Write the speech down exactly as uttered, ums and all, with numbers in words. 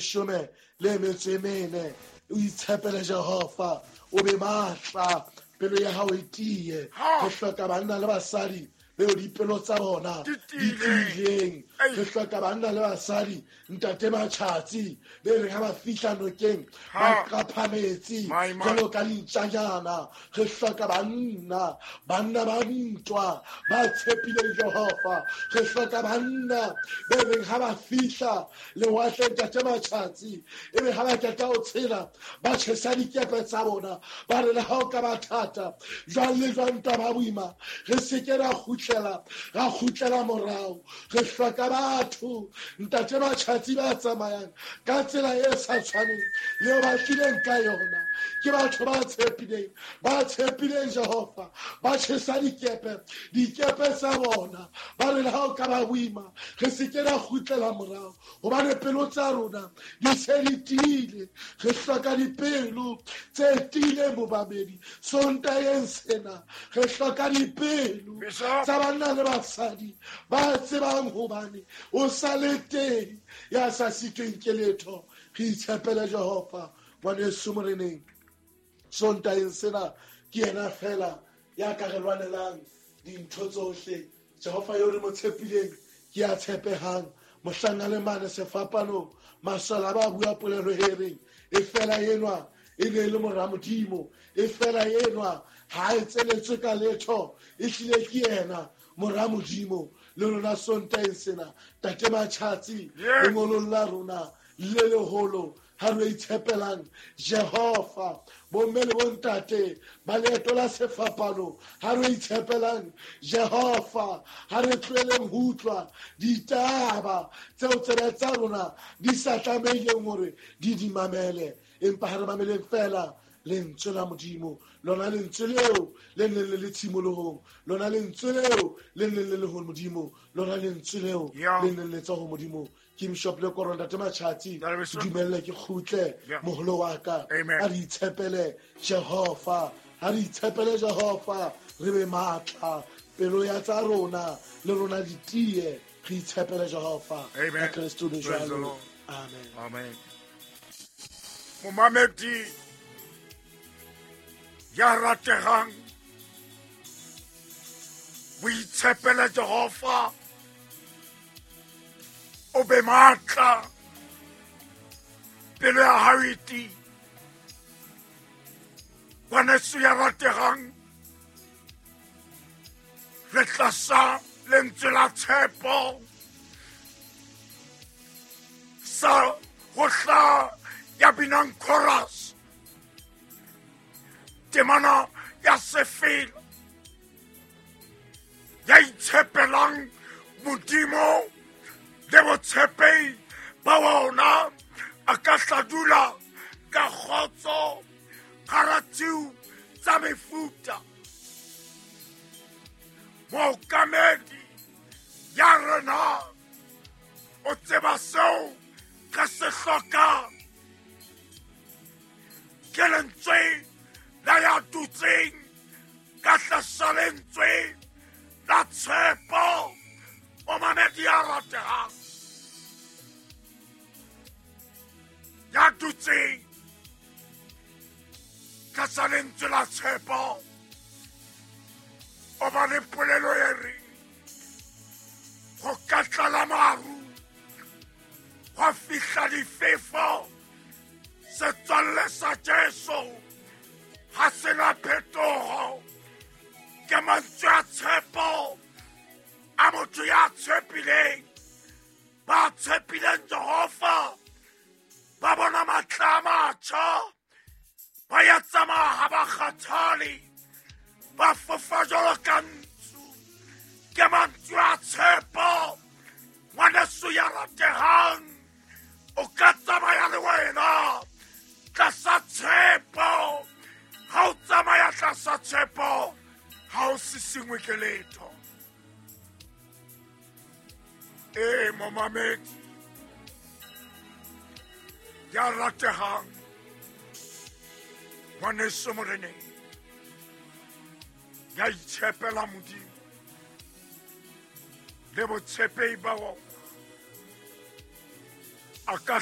Leshome le metso e mene. O itshepele Jehova, o be matla, pelo ya hao e tiye. Re hloka banna le basadi beo dipelo tsa bona di tiileng. Re hloka banna le basadi, ntate Matjhatsi, be reng ha ba fihla nokeng ba qapha metsi jwalo ka dintjanyana. Re hloka banna, banna ba ntwa ba tshepileng Jehova. Re hloka banna be reng ha ba fihla lewatleng, ntate Matjhatsi, ebe ha ba qeta ho tshela ba tjhesa dikepe tsa bona, ba re le ha o ka ba thata jwang le jwang ntwa ba boima, re se ke ra kgutlela ra kgutlela morao. Re hloka batho, ntate Matjhatsi, ba tsamayang ka tsela e sa tshwaneng le ba tlileng ka yona. Ke batho ba tshepileng, ba tshepileng Jehova, ba tjhesa dikepe, dikepe tsa bona, ba re le ha o ka ba boima re se ke ra kgutlela morao, hobane pelo tsa rona di se di tiile. Re hloka dipelo tse tiileng bobabedi Sontaheng sena. Re hloka dipelo tsa banna le basadi ba tsebang hobane o sa le teng ya sa sitweng ke letho. Re itshepele Jehova, ngwaneso moreneng. Sontaheng sena ke yena fela ya ka re lwanelang dintho tsohle. Jehova eo re mo tshepileng ke ya tshepehang. Mohlang a le mane sefapanong, masole ba bua polelo e reng e fela enwa e ne e le mora Modimo, e fela enwa ha e tseletswe ka letho, e hlile ke yena mora Modimo. Le rona Sontaheng sena, tate Matjhatsi, lengolong la rona le leholo, ha re itshepelang Jehova, bomme le bontate ba leeto la sefapano, ha re itshepelang Jehova, ha re tlohelleng ho utlwa ditaba tseo tsebe tsa rona di sa tlamehileng hore di di mamele, empa ha re mameleng fela lentswe la Modimo, lona lentswe leo le neng le le tshimolohong, lona lentswe leo le neng le le ho Modimo, lona lentswe leo le neng le tswa ho Modimo. Ke Bishop Lekoro, ntate Matjhatsi, dumelle ke kgutle moholo wa ka. A re itshepele Jehova, a re itshepele Jehova, re be matla, pelo ya tsa rona le rona di tiye. Re itshepele Jehova ka Kreste le jwalo. Amen. Amen. Momamedi ya rategang, boitshepele Jehova, o be matla, pelo ya hao e tiye. Ngwaneso ya rategang, re tlasa lentswe la tshepo sa ho hla ya binang chorus, temana ya sefela, ya itshepelang Modimo le botshepehi ba ona, a ka tla dula ka kgotso hara tshiu tsa mefuta. Mookamedi ya rena o tseba seo re se hlokang. Ke lentswe la ya dutseng ka tlasa lentswe la tshepo, o mamedi ya ratehang, ya dutseng tlasa lentswe la tshepo, o ba le polelo e reng ho ka tlala maru, hwa fihla difefo, setswalle sa Jesu ha se na phetoho. Ke mantswe a tshepo a motho ya tshepileng. Ba tshepileng Jehova ba bona matla a matjha, ba ya tsamaya ha ba kgathale, ba fofa jwalo ka ntsu. Ke mantswe a tshepo, ngwaneso ya ratehang, o ka tsamaya le wena tlasa tshepo. Ha o tsamaya tlasa tshepo, ha o sisingwe ke letho. E momamedi ya ratehang, ngwaneso moreneng, ya itshepela Modimo le botshepehi ba ona, a ka